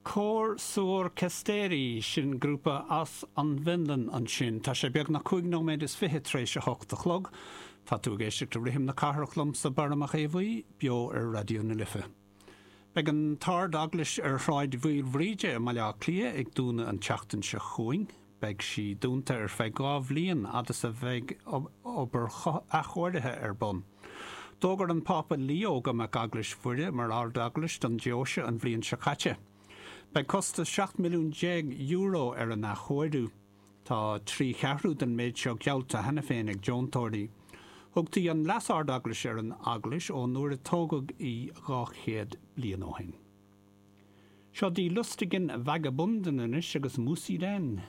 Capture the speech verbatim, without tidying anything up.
Cór Suorkesteri, sin grúpa as an bhFionlainn ansin. Tá sé beagnach cúig nóiméad is fiche tar éis a hocht a chlog. Tá tú ag éisteacht le Rithim na Cathrach liomsa Barra Mac Aodha Bhuí, beo ar Raidió na Life. Beidh an tArd-Eaglais ar Shráid Mhaoilbhríde i mBaile Átha Cliath ag dúnadh an tseachtain seo chugainn. Beidh sí dúnta ar feadh dhá bhliain fhad is a bheidh obair athchóirithe ar bun. D'fhógair an Pápa Leo go mbeadh Eaglais Mhuire mar Ard-Eaglais don deoise an bhliain seo caite. Beidh costas seacht milliún déag euro ar an athchóiriú. Tá trí cheathrú den méid seo geallta cheana féin ag deontóirí. Thugtaí an Leas-Ard-Eaglais ar an eaglais ón uair a tógadh í dhá chéad bliain ó shin. Seo Die Lustigen Vagabunden anois agus Muss i denn.